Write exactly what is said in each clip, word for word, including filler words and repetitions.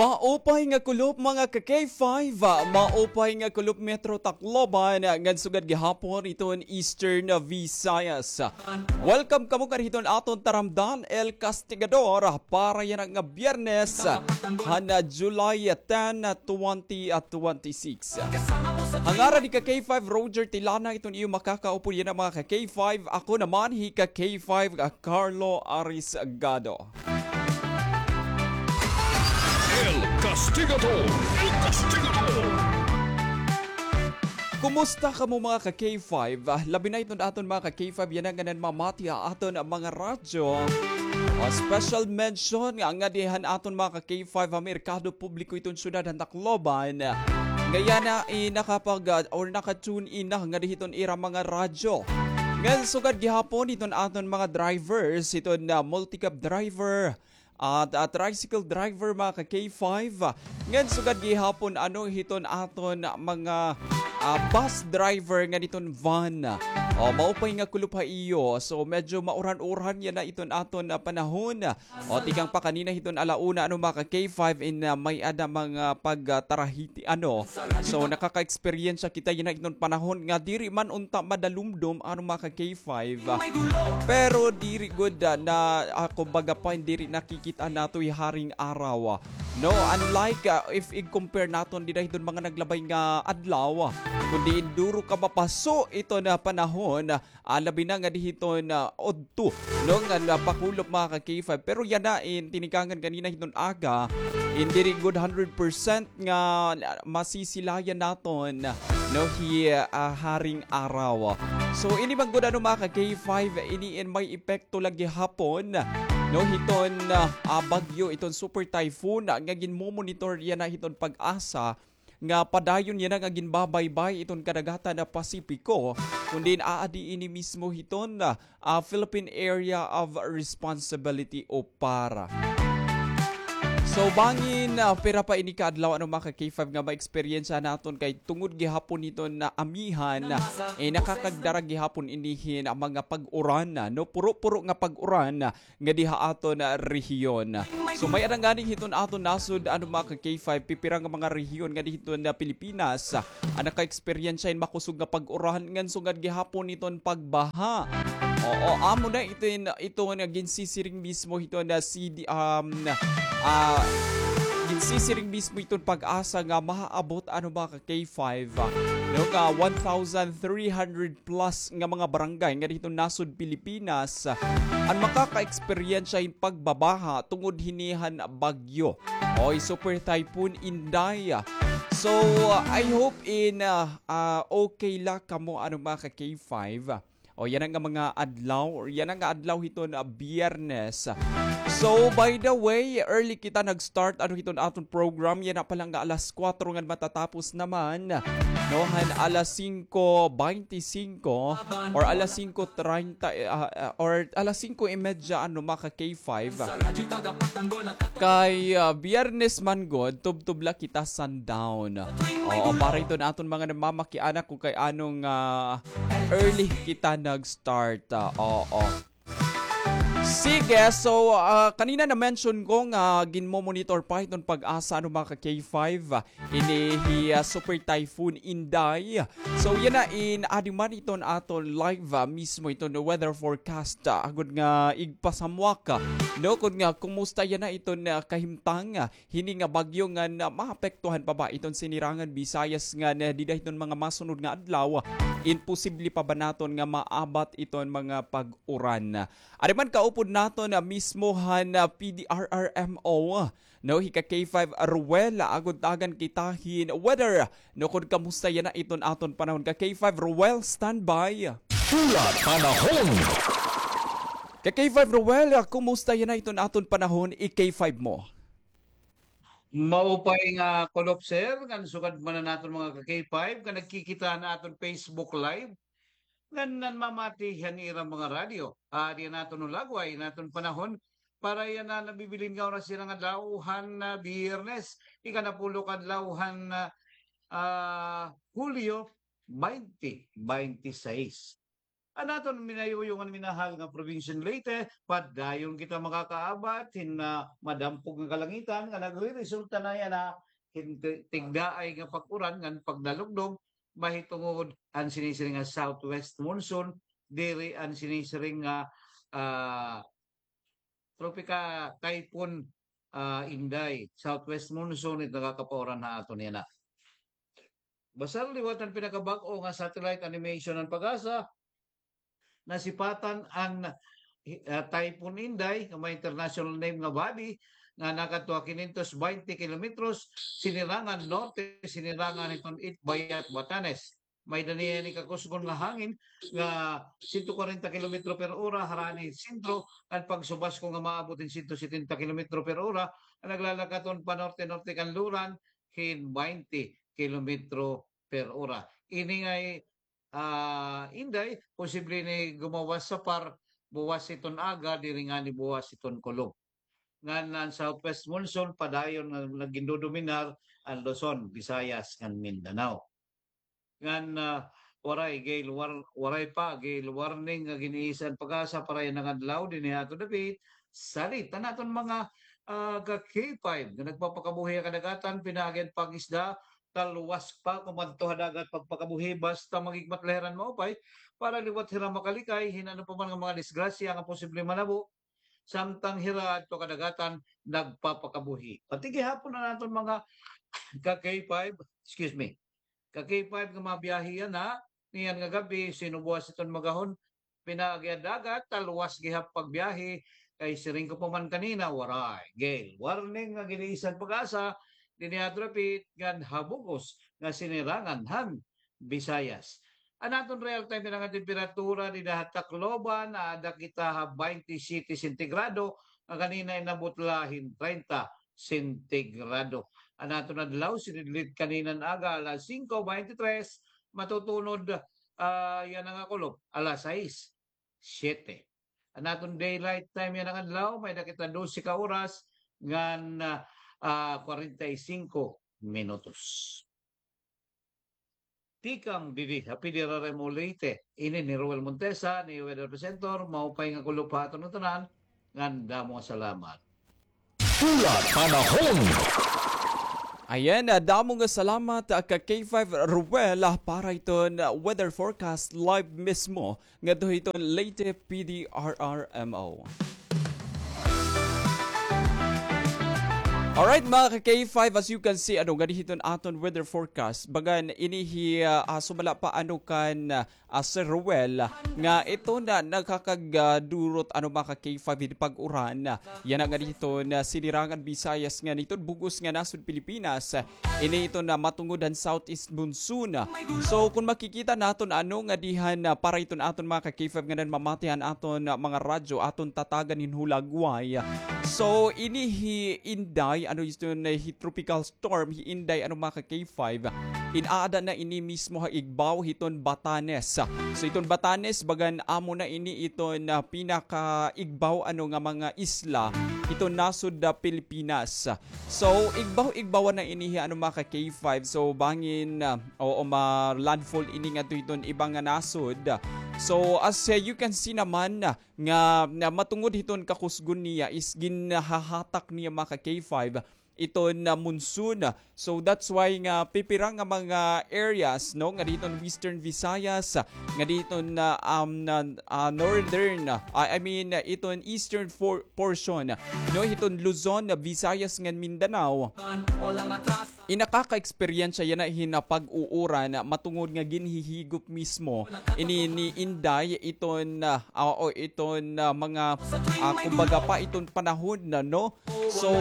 Maupay nga kulop, mga ka-K five, maupay nga kulop, Metro Tacloban, ngan sugad gihapon iton Eastern Visayas. Welcome kamo kan hiton aton taramdan, El Castigador, para yana nga Biyernes, han July ten, twenty twenty-six. Ha ngaran ni ka-K five Roger Tilana, iton iyo makakaupod yana, mga ka-K five. Ako naman hi ka-K five, Carlo Arisgado. El Castigador! El Castigador! Kumusta kamo, mga ka-K five? Ah, labi na iton aton mga ka-K five yana nga nanmamati ha aton mga radyo. Ah, special mention nga, nga dihan aton mga ka-K five ha merkado publiko iton syudad han Tacloban. Nga yana, eh, nakapag, ah, or naka-tune in na nga dihiton ira mga radyo. Ngan sugad gihapon iton aton mga drivers, iton, ah, multicab driver, at, ah, tricycle driver, mga ka-K five. Ngan sugad gihapon, ano, hiton aton mga, ah, bus driver ngan hiton van. O, maupay nga kulop ha iyo. So, medyo mauran-uran yana iton aton, ah, panahon. O, tikang pa kanina hiton ala una, ano, mga ka-K five, in, ah, may-ada mga pagtarahiti, ano. So, nakaka-eksperyensya kita yana hiton panahon nga diri man unta madalumdom, ano, mga ka-K five. Pero diri gud, ah, na, ah, kumbaga pa, diri nakikita nato hi haring araw. No, unlike, ah, if i-compare naton dida hiton mga naglabay nga adlaw, kundi duro ka mapaso iton panahon, ah, labi na nga dihiton, ah, udto, no, nga napakulop, mga ka-K five. Pero yana in tinikangan kanina hiton aga, in diri gud hundred percent nga masisilayan naton, no, hi, ah, haring araw. So, ini man gud, ano, mga ka-K five, ini in may epekto la gihapon, no, hiton, ah, bagyo, iton super typhoon, ah, nga ginmomonitor yana hiton PAGASA, nga padayon yana nga ginbabaybay iton kadagatan nga Pasipiko, kundi aadi ini mismo hiton, ah, Philippine Area of Responsibility o PAR. So, bangin, ah, pira pa ini ka adlaw, ano, mga ka-K five, nga ma-eksperyensya naton kay tungod gihapon hiton nga amihan, eh, nakakagdara gihapon ini hin mga pag-uran, no? Puro-puro nga pag-uran, nga diha aton, ah, rehiyon. So, may-ada ngani hiton aton nasod, ano, mga ka-K five, pipira nga mga rehiyon nga dihiton, ah, Pilipinas, ah, an naka-eksperyensya hin makusog nga pag-uran ngan sugad gihapon hiton pagbaha. Oo, amo na iton, ito nga ginsisiring mismo hiton, ah, C D, um, ah, ginsisiring mismo hiton PAGASA nga mahaabot, ano, mga ka-K five, ah, no, nga one thousand three hundred plus nga mga barangay nga dihiton nasod Pilipinas, ah, an makaka-eksperyensya hin pagbabaha tungod hini han bagyo o hi Super Typhoon Inday. So, ah, I hope in, ah, ah, okay la kamo, ano, mga ka-K five. O, yana nga mga adlaw, or yana nga adlaw hiton, ah, Biyernes. So, by the way, early kita nag-start, ano, hiton aton program. Yana pa la nga alas kuwatro ngan matatapos naman, no, han alas singko baynte singko or alas singko treinta, eh, ah, ah, or alas singko y media, ano, mga ka-K five. Kay, ah, Biyernes man gud, tubtob la kita sundown. Oo, para iton aton mga namamakiana kon kay ano nga early kita nag-start. Ah, oo. Sige, so, ah, kanina na-mention ko nga ginmo-monitor pa hiton PAGASA, ano, mga ka-K five, ah, ini hi, ah, Super Typhoon Inday. So, yana in adi man iton aton live, ah, mismo iton weather forecast, ah, agod nga igpasamwak, ah, no, kon nga kumusta yana iton, ah, kahimtang, ah, hini nga bagyo ngan maapektuhan pa ba iton Sinirangan Visayas ngan dida hiton mga masunod nga adlaw, imposible pa ba naton nga maabat iton mga pag-uran. Adi man kaupod naton mismo han P D R R M O, no, hi ka K five Ruel, agod tagan kita hin weather, no, kon kamusta yana iton aton panahon. Ka K five Ruel, standby. Pula Panahon. Ka K five Ruel, kumusta yana iton aton panahon, i K five mo? Maupay nga kulop, sir, ngan sugad man an aton mga ka K five nga nagkikita han aton Facebook Live, ngan nanmamati han ira mga radyo. Ah, diyan naton hulagway an aton panahon para yana nabibilin nga oras yana nga adlaw han, ah, Biyernes, ikanapulo ka adlaw han, ah, ah, Hulyo, baynte baynte sais. An aton minayuyo ngan minahal nga probinsya hin Leyte, padayon kita makakaabat hin, ah, madampog nga kalangitan nga nagreresulta na yana hin ti-, tigdaay nga pag-uran ngan pagdalugdog, mahitungod an sinisiring nga southwest monsoon, diri an sinisiring nga, ah, Tropika Typhoon, ah, Inday, southwest monsoon it nakakapauran ha aton yana. Basta liwat an pinakabag-o nga satellite animation han PAGASA, nasipatan an, ah, Typhoon Inday, nga may international name nga Babi, nga nakadto ha kinyentos baynte kilometros, sinirangan norte, sinirangan hiton Itbayat, Batanes. May-ada niya ini kakusgon nga hangin nga sento kwarenta kilometro per ora harani sentro, ngan pagsubasko nga maabot hin sento setenta kilometro per ora, nga naglalakaton panorte-norte kanluran hin baynte kilometro per ora. Ini ngay, ah, Inday, posible ini gumawas sa par buwas hiton aga, diri ngani buwas hiton kulop. Ngan an southwest monsoon padayon nga naggindodominar an Luzon, Visayas, ngan Mindanao. Ngan, ah, waray gale war-, waray pa gale warning nga gin-iisa han PAGASA para yana nga adlaw dinhi ha aton dapit. Salit an aton mga, ah, ka K five nga nagpapakabuhi ha kadagatan, pinaagi han pag-isda, talwas pa kumadto ha dagat pagpakabuhi, basta maghigmat la hira hin maupay para liwat hira makalikay hin ano pa man nga mga disgrasya nga posible manabo samtang hira adto kadagatan nagpapakabuhi. Pati gihapon an aton mga ka K five, excuse me, ka K five nga mga biyahe yana, niyan nga gab-i, sinubuas iton magahon, pinaagi ha dagat, talwas gihap pagbiyahe, kay siring ko pa man kanina, waray gale warning nga gin-iisa han PAGASA dinhi ha aton dapit ngan ha bug-os nga sinirangan han Visayas. An aton real time nga temperatura dinhi ha Tacloban, aada kita ha baynte siyete sentigrado, nga kanina inabot la hin treinta sentigrado. An aton adlaw, sinidlit kanina nga aga, alas singko baynte tres, matutunod, ah, yana nga kulop, alas sais, siyete. An aton daylight time yana nga adlaw, may-ada kita dose ka oras ngan, ah, ah, kwarenta y singko minutos. Tikang didi ha P D R R M O Leyte, ini ni Roel Montesa, ni Weather Presenter, maupay nga kulop ha aton ngatanan, ngan damo nga salamat. Pula Panahon. Ayan, ah, damo nga salamat, ah, ka K five Ruel, ah, para hiton, ah, weather forecast live mismo ngadto hiton Leyte P D R R M O. Alright, mga ka K five, as you can see, ano, ngadi hiton aton weather forecast. Bagan, ini hi, ah, ah, sumala pa, ano, kan, ah, ah, Sir Ruel, nga ito na nakakag-, ah, durot, ano, mga ka K five, hin pag-uran. Yana ngadi hiton sinirangan Visayas ngan hiton bug-os nga nasod Pilipinas. Ini hiton matungod han southeast monsoon. So, kon makikita naton, ano, ngadi han, ah, para hiton aton mga ka K five nga nanmamati han aton, ah, mga radyo, aton tatagan hin hulagway. So, ini hi Inday, ano, hiton, ah, hi tropical storm, hi Inday, ano, mga ka K five, in-aada na ini mismo ha igbaw hiton Batanes. So, hiton Batanes, bagan amo na ini hiton, ah, pinakaigbaw, ano, nga mga isla hiton nasod, ah, Pilipinas. So, igbaw-igbawan na ini hi, ano, mga ka K five. So, bangin, ah, oo, ma-landfall ini ngadto hiton iba nga nasod. So, as, ah, you can see naman, ah, nga, nga matungod hiton kakusgon niya is ginhahatak niya, mga ka K five, iton, ah, monsoon. So, that's why nga pipira nga mga areas, no, ngadi hiton Western Visayas, ngadi hiton, ah, um, na, ah, northern, ah, I mean, ah, iton eastern for-, portion, no, hiton Luzon, Visayas, ngan Mindanao. In nakaka-eksperyensya yana hin, ah, pag-uuran, ah, matungod nga ginhihigop mismo ini ni Inday iton, ah, ah, o iton, ah, mga, ah, kumbaga pa iton panahon na, no? So,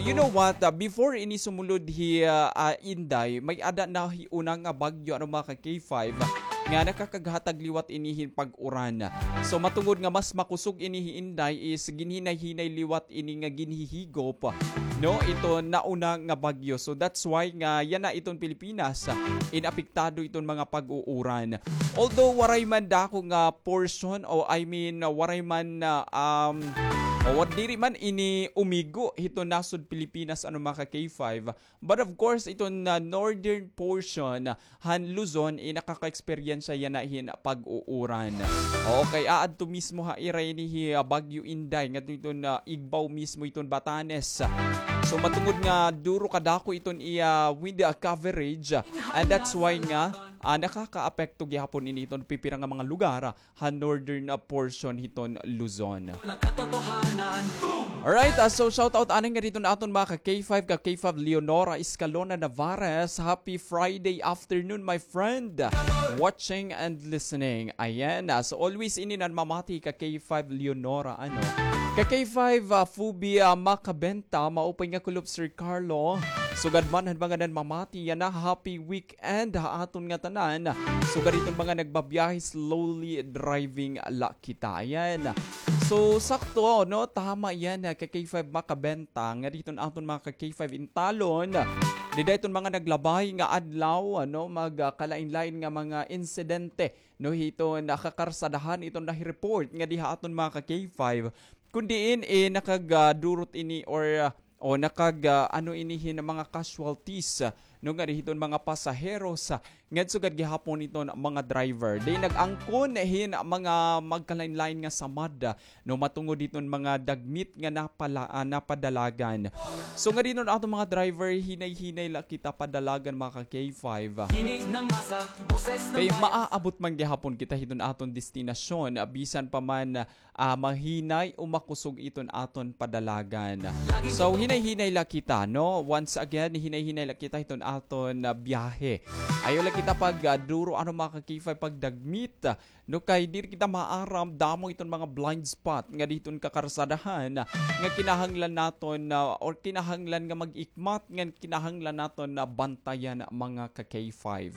you know what? Ah, before ini sumulod hi, ah, ah, Inday, may-ada na hi una nga bagyo, ano, mga ka K five, nga nakakaghatag liwat ini hin pag-uran. So, matungod nga mas makusog ini hi Inday is ginhinay-hinay liwat ini nga ginhihigop, no, iton nauna nga bagyo. So, that's why nga yana iton Pilipinas, ah, in apektado iton mga pag-uuran. Although waray man dako nga portion, o I mean, waray man, ah, um, O, diri man ini umigo hiton nasod Pilipinas, ano, mga ka-K five. But of course, iton, ah, northern portion han Luzon, eh, nakaka-eksperyensya yana hin pag-uuran. Okay, aadto mismo ha ira ini hi, ah, Baguio Inday, ngadto iton, ah, igbaw mismo iton Batanes. So, matungod nga duro kadako iton iya wind, ah, coverage, and that's why nga, ah, nakakaapekto gihapon ini iton pipira nga mga lugar ha northern, ah, portion hiton Luzon. Alright, ah, so shout out anay ngadi hiton aton mga ka-K five, ka-K five Leonora Escalona Navarez. Happy Friday afternoon, my friend. Watching and listening. Ayan, ah, so always ini nanmamati ka-K five Leonora, ano. Ka-K five, ah, Fubi, ah, Macabenta, maupay nga kulop, Sir Carlo. Sugad man han mga nanmamati yana, happy week and ha aton nga tanan. Sugad hiton mga nagbabiyahe, slowly driving la kita. Ayan. So, sakto, no? Tama yan, ha, ka-K five Macabenta. Ngadi hiton aton mga ka-K five intalon. Dida hiton mga naglabay nga adlaw, ano, mag, ah, kalain-lain nga mga insidente, no, hiton, ah, kakarsadahan iton nahi-report ngadi ha aton mga ka-K five. Kun diin, eh, nakagadurot ini or, ah, o nakag, ah, ano ini hin mga casualties, ah, no, ngadi hiton mga pasaheros, ah, ngan sugad gihapon iton mga driver. Di nag-angkon hin mga magkalain-lain nga samad, ah, no, matungod hiton mga dagmit nga napala-, ah, napadalagan. So, ngadi hiton aton mga driver, hinay-hinay la kita padalagan, mga ka-K five. Kay maaabot man gihapon kita hiton aton destinasyon, ah, bisan pa man, ah, mahinay o makusog iton aton padalagan. So, hinay-hinay la kita, no? Once again, hinay-hinay la kita hiton aton, ah, biyahe. Ayaw la kita pag, ah, duro, ano, mga ka-K five, pagdagmit, no? Kay diri kita maaram, damo iton mga blind spot ngadi hiton kakarsadahan nga kinahanglan naton, ah, or kinahanglan nga mag-ikmat, nga kinahanglan naton na bantayan, mga ka-K five.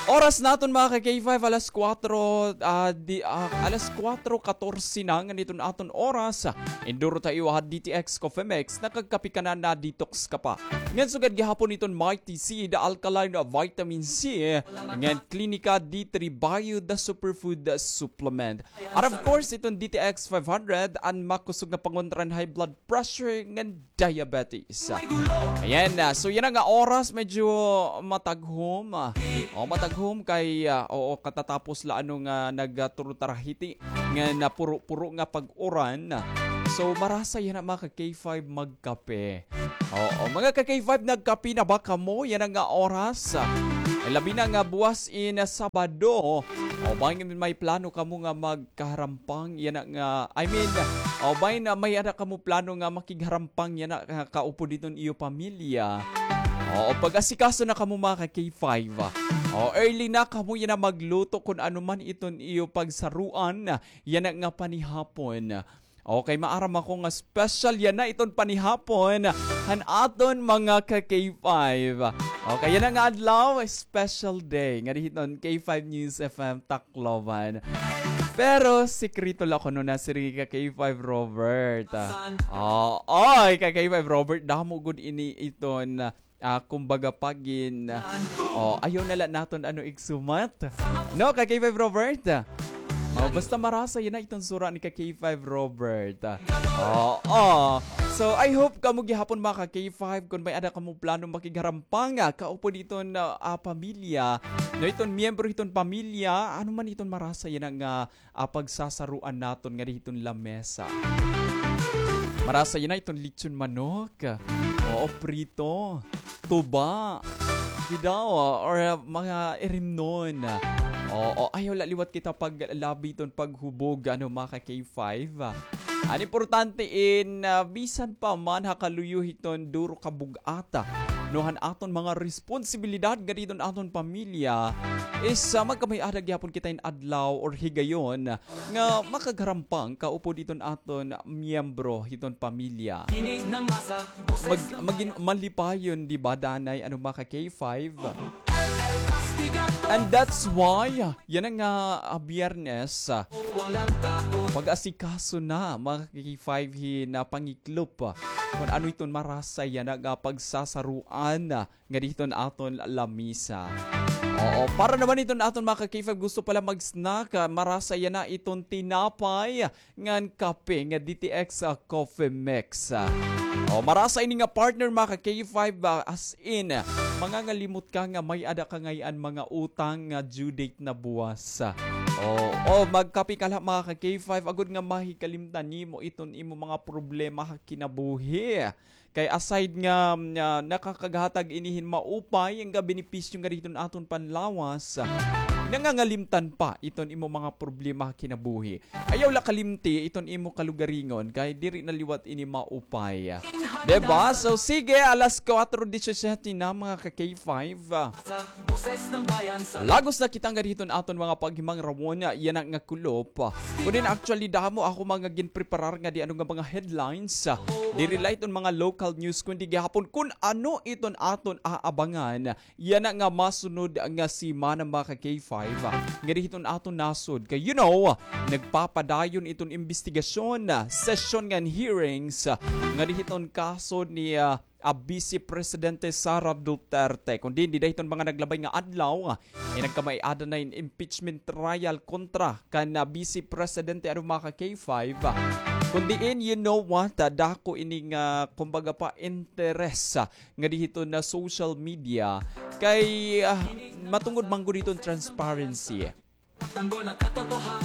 Oras naton, mga ka-K five, alas kuwatro, ah, di, ah, alas kuwatro katorse na ngadi iton aton oras. Induro ta iyo ha D T X Coffee Mix, nakagkape ka na, na-detox ka pa. Ngan sugad gihapon iton Mighty C, the alkaline vitamin C, ngan Clinica D three Bio, the superfood supplement. And of course, iton D T X five hundred, an makusog nga pangontra han high blood pressure ngan diabetes. Ayan na. So, yana nga oras, medyo mataghom. Ah. O, mataghom kay, ah, oo, katatapos la, ano, nga nagturo ta ha hiti nga napuro-puro nga pag-uran. So, marasa yana, mga ka-K five, magkape. Oo, mga ka-K five, nagkape na ba kamo yana nga oras? Labi na nga buwas in Sabado. O, bangin may plano kamo nga mag kaharampang yana nga, I mean, o, bangin may-ada kamo plano nga makigharampang yana, ah, kaupod hiton iyo pamilya. O, pag-asikaso na kamo, mga ka-K five. O, early na kamo yana magluto kun ano man iton iyo pagsaruan yana nga panihapon. Okay, maaram ako nga special yana iton panihapon han aton mga ka-K five. Okay, yana nga adlaw, special day ngadi hiton K five News F M Tacloban. Pero sikreto la kuno na, siring ka-K five Robert. Ah, oy, ka-K five Robert, damo gud ini iton, ah, kumbaga, pagin, o, ayaw na la naton, ano, igsumat. No, ka-K five Robert? O, basta marasa yana iton sura ni ka-K five Robert. Oo. So, I hope kamo gihapon, mga ka-K five, kun may-ada kamo plano makigharampang, ah, kaupod hiton, ah, pamilya, no, iton miyembro hiton pamilya, ano man iton marasa yana nga, ah, pagsasaruan naton ngadi hiton lamesa. Marasa yana iton lechon manok. Oo, prito, tuba, bidaw, or, ah, mga irimnon. Oo, ayaw la liwat kita paglabi hiton paghubog, ano, mga ka-K five. An importante in, ah, bisan pa man ha kaluyo hiton duro kabug-ata, no, han aton mga responsibilidad ngadi hiton aton pamilya, is, ah, magkamay-ada gihapon kita in adlaw or higayon nga makagharampang kaupod hiton aton miyembro hiton pamilya. Mag-, magin malipayon, di ba, danay, ano, mga ka-K five? And that's why, yana nga, ah, Biyernes, ah, pag-asikaso na, mga ka-K five, hin pangiklop, ah, kun ano iton marasa yana nga pagsasaruan, ah, ngadi hiton aton lamisa. Oo, para naman iton aton mga ka-K five, gusto pala mag-snack, ah, marasa yana iton tinapay ngan kape nga D T X, ah, Coffee Mix. Ah, o, marasa ini nga partner, mga ka-K five, ah, as in, mangangalimot ka nga may-ada ka ngay-an mga utang nga due date na buwas. Ah, o, o, magkape ka la, mga ka-K five, agod nga mahikalimtan nimo iton imo mga problema ha kinabuhi. Kay aside nga, mm, ah, nakakaghatag ini hin maupay nga benepisyo ngadi hiton aton panlawas, ah, nangangalimtan pa iton imo mga problema ha kinabuhi. Ayaw la kalimti iton imo kalugaringon, kay diri na liwat ini maupay. Diba? So, sige, alas kuwatro disisiyete na, mga ka-K five. Lagos na kita ngadi hiton aton mga paghimangrawon, yana nga kulop. Kundi actually, damo ako mga ginpreparar ngadi ano nga mga headlines. Diri la iton mga local news, kundi gihapon kun ano iton aton aabangan yana nga masunod nga semana, mga ka-K five, ngadi hiton aton nasod. Kay, you know, nagpapadayon iton imbestigasyon, session ngan hearings, ngadi hiton kaso ni, ah, ah, Vice Presidente Sara Duterte. Kundi dida hiton mga naglabay nga adlaw, eh, nagkamay-ada na in impeachment trial kontra kan, ah, Vice Presidente, ano, mga ka-K five. Kundi in, you know what, ah, dako ini nga, kumbaga pa, interes, ah, ngadi hiton social media. Kay, ah, matungod man gud hiton transparency.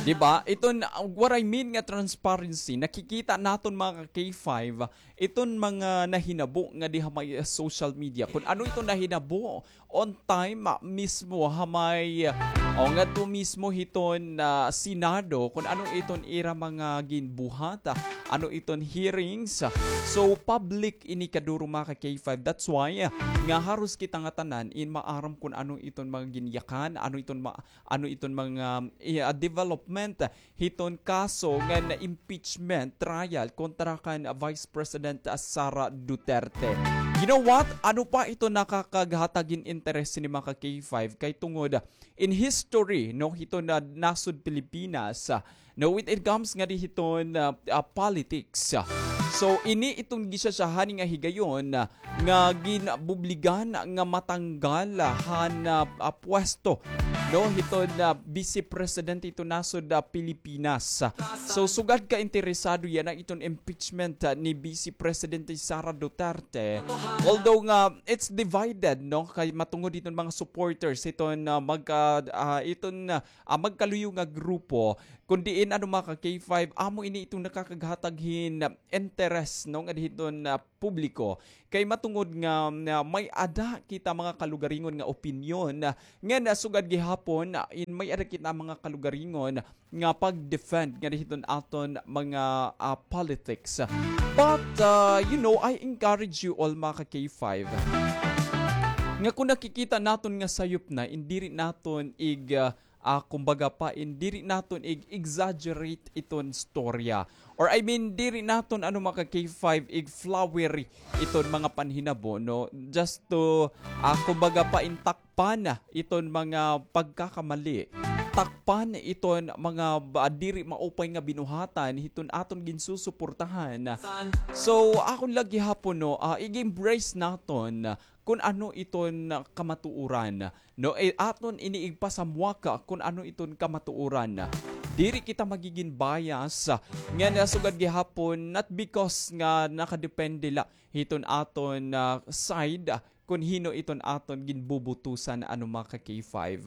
Di ba? Iton, uh, what I mean nga transparency, nakikita naton, mga ka-K five, iton mga nahinabo ngadi ha may, uh, social media. Kun ano iton nahinabo on time, uh, mismo ha may, uh, o ngadto mismo hiton, uh, Senado, kun ano iton ira mga ginbuhat, uh, ano iton hearings. So, public ini kaduro, mga ka-K five. That's why, uh, nga haros kita ngatanan in maaram kun ano iton mga ginyakan, ano iton ma-, ano iton mga, eh, ah, development hiton kaso ngan impeachment trial kontra kan Vice President, ah, Sara Duterte. You know what? Ano pa ito nakakaghatag hin interes ni, mga ka-K five, kay tungod in history, no, hiton nasod Pilipinas, ah, no, when it comes ngadi hiton, ah, ah, politics. So, ini iton gisasyahan nga higayon, ah, nga ginbubligan nga matanggal han, ah, ah, pwesto, no, hiton, ah, Vice President hiton nasod, ah, Pilipinas. So, sugad ka interesado yana iton impeachment, ah, ni Vice Presidente Sara Duterte. Although nga it's divided, no, kay matungod hiton mga supporters hiton, ah, magka-, ah, iton, ah, magkaluyo nga grupo, kun diin, ano, mga ka-K five, amo ini iton nakakaghatag hin interes, no, ngadi hiton, ah, publiko. Kay matungod nga, nga may-ada kita mga kalugaringon nga opinyon, ah, nga nasugad gihapon, ah, in may-ada kita mga kalugaringon nga pag-defend ngadi hiton aton mga, ah, politics. But, ah, you know, I encourage you all, mga ka-K five, nga kun nakikita naton nga sayop na, in diri naton ig-, ah, ah, kumbaga pa, in diri naton ig-exaggerate iton storya. Or I mean, diri naton, ano, mga ka-K five, ig-flowery iton mga panhinabo, no? Just to, ah, kumbaga pa, in takpan iton mga pagkakamali. Takpan iton mga ba-, diri maupay nga binuhatan hiton aton ginsusuportahan. So, akon la gihapon, no, ah, ig-embrace naton kun ano iton kamatuoran. No, eh, aton ini igpasamwaka kun ano iton kamatuoran. Diri kita magigin bias, nga nasugad gihapon, not because nga nakadepende la hiton aton, ah, side, kun hin-o iton aton ginbubutusan, ano, mga ka-K five.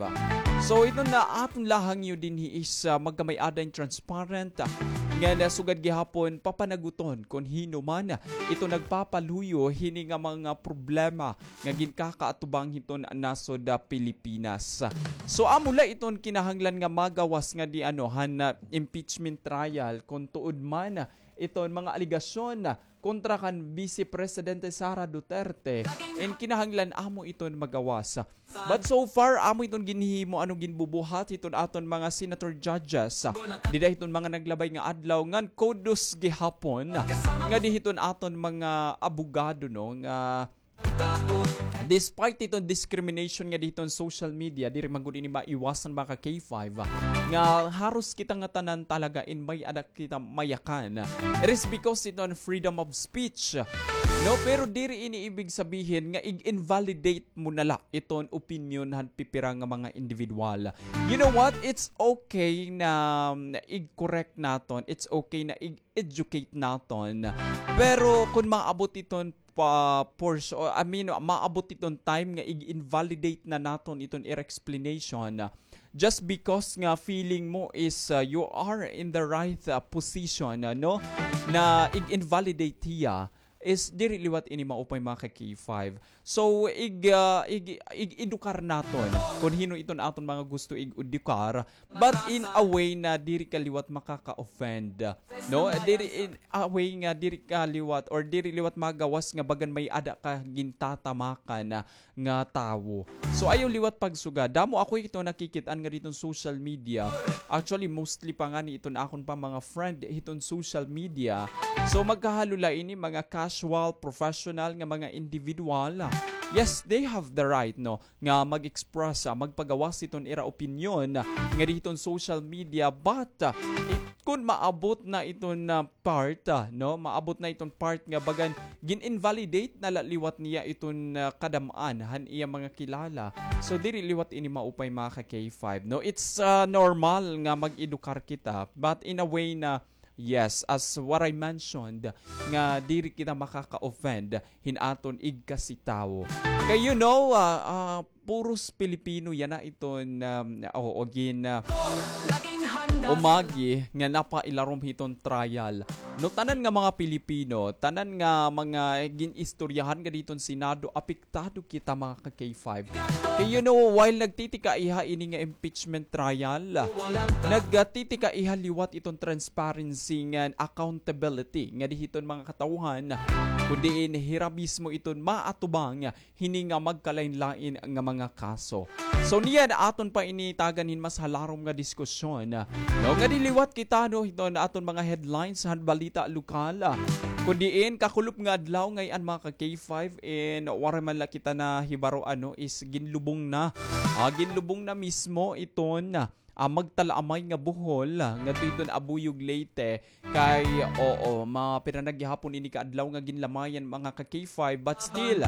So, iton na aton la hangyo dinhi is, ah, magkamay-ada hin transparent, ah, nga nasugad gihapon papanaguton kun hin-o man iton nagpapaluyo hini nga mga problema nga ginkakaatubang hiton nasod, ah, Pilipinas. So, amo la iton kinahanglan nga magawas ngadi, ano, han, ah, impeachment trial, kun tuod man, ah, iton mga alegasyon, ah, kontra kan Vice Presidente Sara Duterte, in kinahanglan amo iton magawas. But so far, amo iton ginhimo, ano, ginbubuhat hiton aton mga senator judges, ah, dida hiton mga naglabay nga adlaw, ngan kudos gihapon, ah, ngadi hiton aton mga abogado, no, nga Despite iton discrimination nga didto han social media, diri man gud ini maiwasan, mga ka-K five, nga haros kita ngatanan talaga in may-ada kita mayakan. It is because iton freedom of speech. No, pero diri ini ibig sabihin nga ig-invalidate mo na la iton opinyon han pipira nga mga individual. You know what? It's okay na, um, ig-correct naton. It's okay na ig-educate naton. Pero kun maabot iton pa, pors-, or, I mean, maabot iton time nga ig-invalidate na naton iton ira explanation, just because nga feeling mo is, uh, you are in the right, uh, position, uh, no, na ig-invalidate hiya, is diri liwat ini maupay, mga ka-K five. So, ig-, ah, ig-, ig-edukar naton kun hin-o iton aton mga gusto ig-edukar, but in a way na diri ka liwat makaka-offend, no? Diri, in a way nga diri ka liwat or diri liwat magawas nga bagan may-ada ka gintatamakan na nga tawo. So, ayaw liwat pagsugad. Damo ako ito nakikit-an nga didto han social media. Actually, mostly pa ngani iton akon pa mga friend hiton social media. So, magkahalo la ini mga casual, professional nga mga individual. Yes, they have the right, no, nga mag-express, ah, magpagawas hiton ira opinyon nga didto han social media, but, ah, it-, kun maabot na iton, ah, part, ah, no, maabot na iton part nga bagan gin-invalidate na la liwat niya iton, ah, kadam-an han iya mga kilala. So, diri liwat ini maupay, mga ka-K five, no? It's, ah, normal nga mag-edukar kita, but in a way na, yes, as what I mentioned, nga diri kita makaka-offend hin aton igkasitawo. Kay, you know, ah, ah, puros Pilipino yana iton, um, oo, gin, ah, umagi nga napailarom hiton trial. No, tanan nga mga Pilipino, tanan nga mga gin-istoryahan nga didto han Senado, apektado kita, mga ka-K five. Kay, you know, while nagtitikaiha ini nga impeachment trial, nagtitikaiha liwat iton transparency ngan accountability ngadi hiton mga katawhan, kun diin hira mismo iton maatubang hini nga magkalain-lain nga mga kaso. So, niyan aton pa ini tagan hin mas halarom nga diskusyon, no, ngadi liwat kita, no, hiton aton mga headlines han balita lokal. Kun diin, kakulop nga adlaw ngay-an, mga ka-K five, in waray man la kita nahibaro, ano, is ginlubong na. Ah, ginlubong na mismo iton, ah, magtalaamay nga buhol, ah, ngadto hiton Abuyog, Leyte. Kay, oo, mapira na gihapon ini ka adlaw nga ginlamayan, mga ka-K five, but still,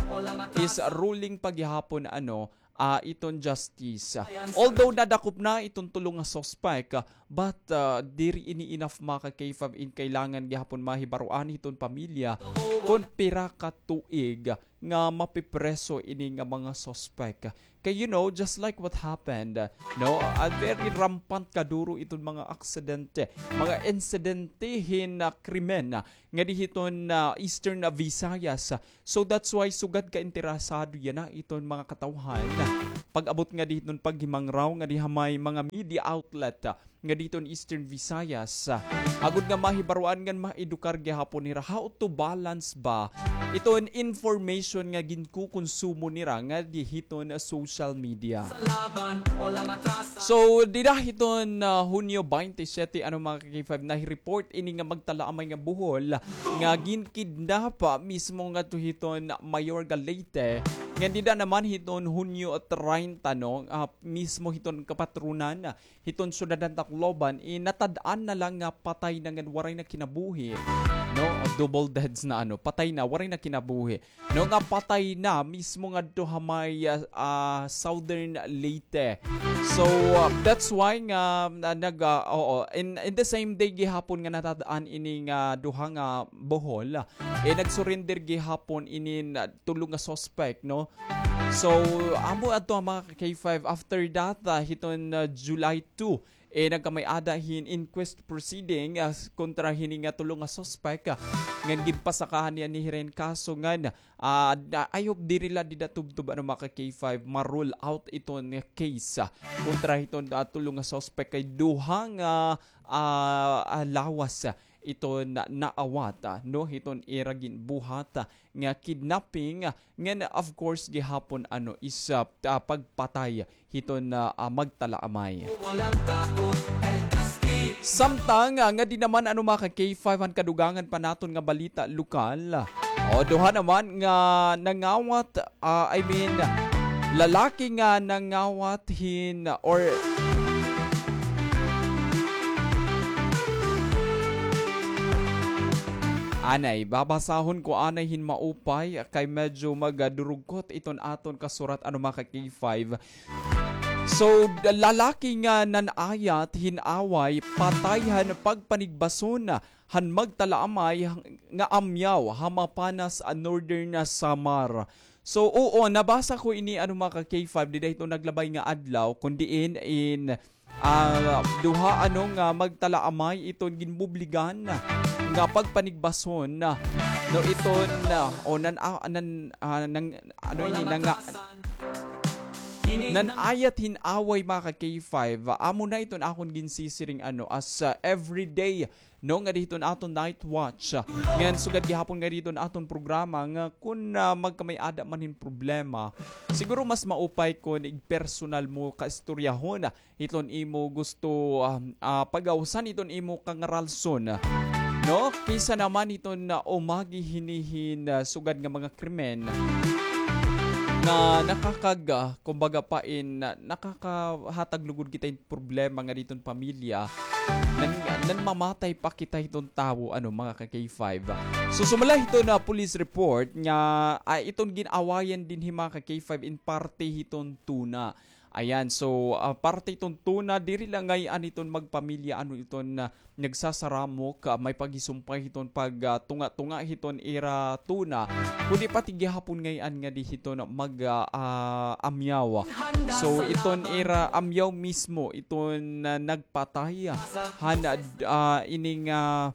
is ruling pa gihapon, ano, ah, iton justice. Although nadakop na iton tulo nga suspect, ah, but, ah, diri ini enough, mga ka-K five, in kailangan gihapon mahibaroan hiton pamilya kon pira ka tuig nga mapipreso ini nga mga suspect. Kay, you know, just like what happened, no, a very rampant kaduro iton mga aksidente, mga insidente hin, ah, krimen, ah, ngadi hiton, ah, Eastern, ah, Visayas. So that's why sugad ka interesado yana iton mga katawhan. Pag-abot ngadi hiton paghimangraw ngadi ha may mga media outlet, ah, ngadi hiton Eastern Visayas, ah, agod nga mahibaroan ngan maedukar gihapon hira how to balance ba iton information nga ginkukonsumo nira ngadi hiton, ah, social media. So, dida hiton, ah, Hunyo twenty-seven, ano, mga ka-K five, nahi-report ini nga magtalaamay nga buhol nga ginkidnap, ah, mismo ngadto hiton Mayor ga Leyte. Ngan dida naman hiton Hunyo treinta, no, ah, mismo hiton kapatronan, ah, hiton syudad han Tacloban, eh, natad-an na la nga patay na ngan waray na kinabuhi, no? Double deaths na, ano, patay na, waray na kinabuhi. No, nga patay na mismo ngadto ha may, ah, ah, Southern Leyte. So, ah, that's why nga, ah, nag, ah, oo, in, in the same day gihapon nga natad-an ini nga duha nga buhol, eh, nag-surrender gihapon ini na tulo nga suspect, no? So, amo adto, mga ka-K five. After that, ah, hiton, ah, July two, eh, nagkamay-ada hin inquest proceeding, ah, kontra hini nga tulo nga suspect, ah, ngan ginpasakahan niya ni hira hin kaso ngan, ah, da-, I hope diri la dida tubtob, ano, mga ka-K five, ma-rule out iton nga case, ah, kontra hiton, ah, tulo nga suspect kay duha nga, ah, ah, lawas, ah, iton na-, naawat, ah, no, hiton ira ginbuhat, ah, nga kidnapping, ah, ngan, of course, gihapon, ano, is, ah, ah, pagpatay hiton, ah, ah, magtalaamay. Samtang, ah, ngadi naman, ano, mga ka-K five, han kadugangan pa naton nga balita lokal, ah, O, duha naman nga nangawat, ah, I mean, lalaki nga nangawat hin, or anay, babasahon ko anay hin maupay, kay medyo magadurugkot iton aton kasurat, ano, mga ka-K five. So, lalaki nga nan-ayat hin away, patay han pagpanigbason han magtalaamay nga amyaw ha Mapanas, ah, Northern, ah, Samar. So, oo, nabasa ko ini, ano, mga ka-K five, dida hiton naglabay nga adlaw, kun diin in, ah, duha, ano, nga magtalaamay iton ginbubligan nga pagpanigbason, ah, no, iton, ah, o nan, ah, nan, ah, nang, ano ini, nanga-, nan-ayat hin away, mga ka-K five. Amo na iton akon ginsisiring, ano, as, ah, everyday, no, nga dida hiton aton night watch. Ngan sugad gihapon nga dida hiton aton programa nga kun, ah, magkamay-ada man hin problema, siguro mas maupay kun igpersonal mo kaistoryahon hiton imo gusto, ah, ah, pagawsan hiton imo kangaralson, no? Kaysa naman hiton, ah, umagi hini hin, ah, sugad nga mga krimen nga nakakag-, ah, kumbaga pa in, ah, nakakahatag lugod kita hin problema nga dida hiton pamilya, nan, nanmamatay pa kita hiton tawo, ano, mga ka-K five. So, sumala hiton police report nga, ah, iton gin-awayan dinhi, mga ka-K five, in parte hiton tuna. Ayan, so, ah, parte iton tuna, diri la ngay-an iton magpamilya, ano, iton, ah, nagsasaramok, ah, may paghisumpay hiton pag, ah, tunga-tunga hiton ira tuna, kundi pati gihapon ngay-an ngadi hiton mag, ah, ah, amyaw. So, iton ira amyaw mismo, iton, ah, nagpatay, ah, han, ah, ining, ah,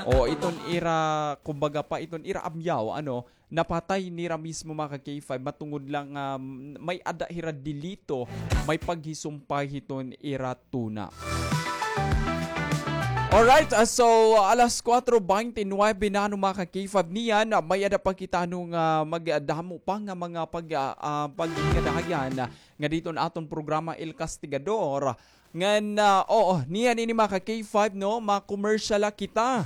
o iton ira, kumbaga pa, iton ira amyaw, ano, napatay nira mismo, mga ka-K five, matungod lang, ah, may-ada hira delito, may paghisumpay hiton ira tuna. Alright, ah, so, alas kuwatro bente nuwebe na, ano, mga ka-K five, niyan, ah, may-ada pa kita, ano, nga magdamo pa nga mga pag-, ah, ah, pagkadahayan, ah, nga dida hiton aton programa El Castigador. Ngan, ah, oo, niyan ini, mga ka-K five, no? Ma-commercial la kita.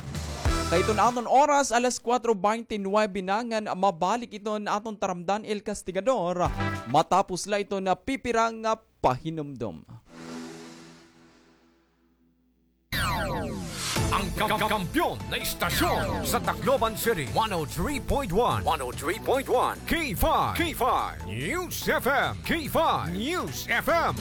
Kay iton aton oras, alas kuwatro bente nuwebe na, ngan mabalik iton aton taramdan, El Castigador, matapos la iton pipira nga pahinumdom. Ang ka-, kampiyon na istasyon sa Tacloban City, one oh three point one, one oh three point one, K five, K five News F M, K five News F M.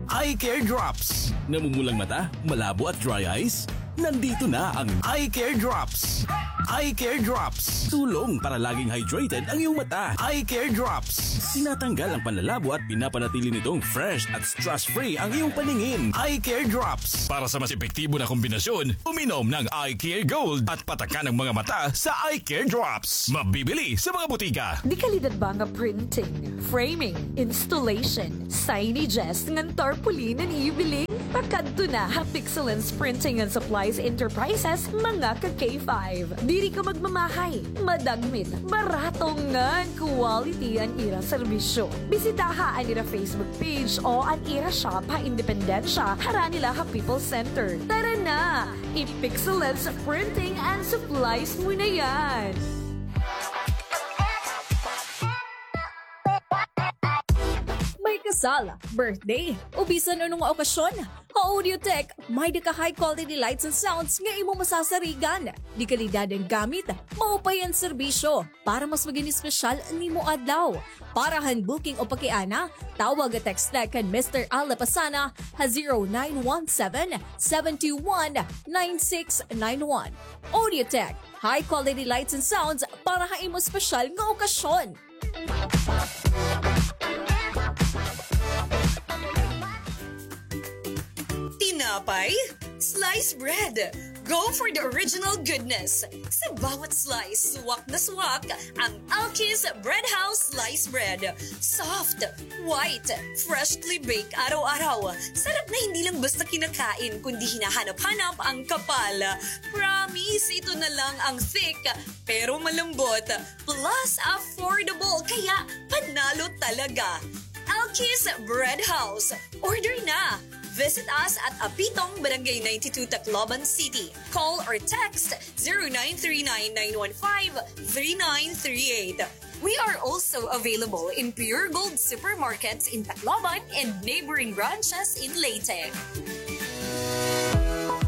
Eye Care Drops. Namumulang mata, malabo at dry eyes? Nandito na ang Eye Care Drops. Eye Care Drops. Tulong para laging hydrated ang iyong mata. Eye Care Drops. Tinatanggal ang panlalabo at pinapanatili nitong fresh at stress-free ang iyong paningin. Eye Care Drops. Para sa mas epektibo na kombinasyon, uminom ng Eye Care Gold at patakan ang mga mata sa Eye Care Drops. Mabibili sa mga butika. Dekalidad ba nga printing, framing, installation, signages, ngan tarpaulin an iyo biling? Pakadto na ha Pixelens Printing and Supplies Enterprises, mga ka-K five. Diri ka magmamahay, madagmit, barato ngan quality an ira serbisyo. Bisitaha an ira Facebook page o an ira shop ha Independencia, harani la ha People's Center. Tara na! I-Pixelens Printing and Supplies mo na yan! May kasal, birthday, o bisan ano nga okasyon, ha Audiotech, may-ada ka high quality lights and sounds nga imo masasarigan. Dekalidad an gamit, maupay an serbisyo. Para mas maging espesyal an imo adlaw. Para han booking o pakiana, tawag o text la kan Mister Al Lapasana ha zero nine one seven, seven two one, nine six nine one. Audiotech, high quality lights and sounds para ha imo espesyal nga okasyon. Tinapay? Slice bread! Go for the original goodness! Sa bawat slice, suwak na suwak ang Alki's Bread House Slice Bread. Soft, white, freshly baked araw-araw. Sarap na hindi lang basta kinakain, kundi hinahanap-hanap ang kapal. Promise, ito na lang ang thick, pero malambot. Plus, affordable, kaya panalo talaga. Alki's Bread House. Order na! Visit us at Apitong, Barangay ninety-two, Tacloban City. Call or text zero nine three nine nine one five three nine three eight. We are also available in Pure Gold supermarkets in Tacloban and neighboring branches in Leyte.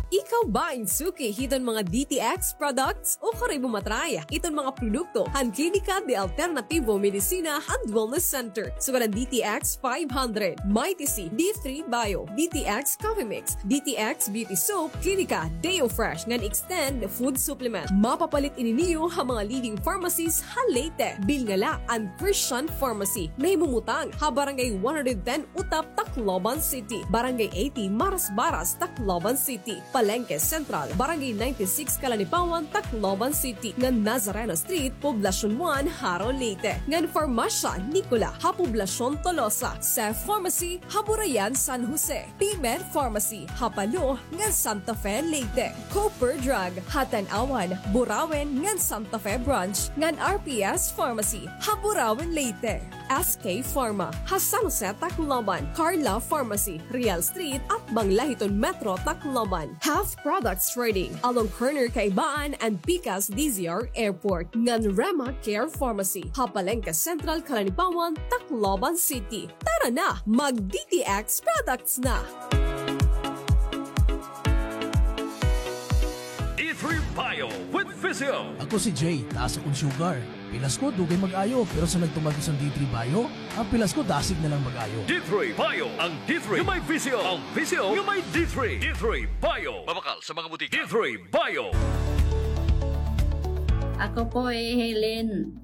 Ikaw ba in suki hiton mga D T X products? Ukari mo matry iton mga produkto han Klinika de Alternativo Medicina and Wellness Center, sugad han D T X five hundred, Mighty C, D three Bio, D T X Coffee Mix, D T X Beauty Soap, Klinika Deo Fresh ngan Extend Food Supplement. Mapapalit ini niyo ha mga leading pharmacies ha Leyte. Bilngala and Christian Pharmacy, nahimumutang ha Barangay one hundred ten Utap, Tacloban City, Barangay eighty Marasbaras, Tacloban City, Palengke Central, Barangay ninety-six Kalanipawan, Tacloban City, ngan Nazareno Street, Poblacion one, Jaro, Leyte, ngan Farmacia Nicola ha Poblacion Tolosa, Safe Pharmacy ha Burayan, San Jose, P-Med Pharmacy ha Palo ngan Santa Fe, Leyte, Cooper Drug ha Tanauan, Burauen ngan Santa Fe Branch, ngan R P S Pharmacy ha Burauen, Leyte. S K Pharma ha San Jose, Tacloban, Carla Pharmacy, Real Street, atbang la hiton Metro Tacloban, Half Products Trading, along corner Kaibaan and pikas D Z R Airport, ngan Rema Care Pharmacy ha Palengke Central, Kalanipawan, Tacloban City. Tara na, mag D T X products na! D three Bio with Physio. Ako si Jay, taas akon sugar. Pilas ko, dugay mag-ayo, pero sa nagtumag ko sa D three Bio, an pilas ko dasig na lang mag-ayo. D three Bio, ang D three nga may Physio, ang Physio nga may D three. D three Bio. Mabakal sa mga butika. D three Bio. Ako po hi Helen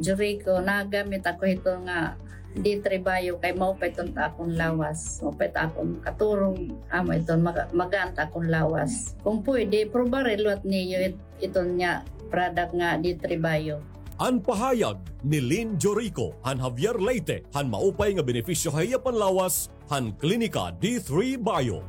Jurico, nagamit ako hito nga D three Bio kay maupay iton ha akon lawas. Maupay it akon katurog, amo iton maga-, magaan it akon lawas. Kung pwede, probari liwat niyo it-, iton nga product nga D three Bio. An pahayag ni Lynn Jorico han Javier, Leyte, han maupay nga benepisyo ha iya panlawas han Klinika D three Bio.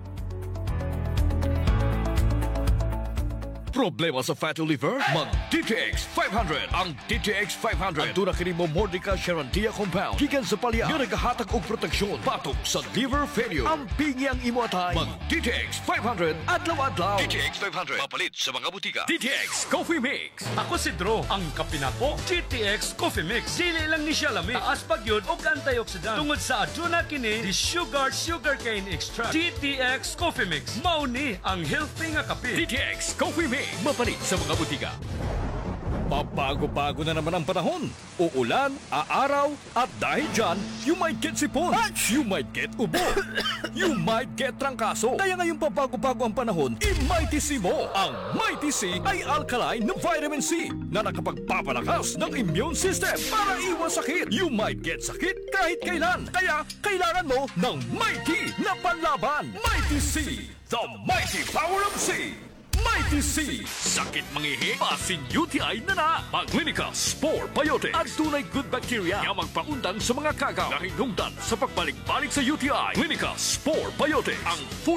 Problema sa fatty liver? Mag D T X five hundred. Ang D T X five hundred aduna kini Momordica Charantia compound gikan sa palya nga nagahatag og proteksyon batok sa liver failure. Ampingi ang imo atay. Mag D T X five hundred adlaw-adlaw. D T X five hundred mapalit sa mga butika. D T X Coffee Mix. Ako si Drew, ang kape nako, D T X Coffee Mix. Dili lang ni siya lami, taas pa gyud og antioxidant tungod sa aduna kini di sugar, sugarcane extract. D T X Coffee Mix, mao ni ang healthy nga kape. D T X Coffee Mix, mapalit sa mga butika. Pabago-bago na naman ang panahon. Uulan, aaraw, at dahil dyan, you might get sipon, you might get ubo, you might get trangkaso. Kaya ngayong pabago-bago ang panahon, i-Mighty C mo. Ang Mighty C ay alkaline na vitamin C na nakapagpapalakas ng immune system para iwas sakit. You might get sakit kahit kailan. Kaya kailangan mo ng Mighty na panlaban. Mighty C, the mighty power of C. Mighty C. Sakit mangihi, basin U T I na na. Mag Clinica Spore Biotic. Adunay good bacteria nga magpaundang sa mga kagaw nga hinungdan sa pagbalik-balik sa U T I. Clinica Spore Biotic. Ang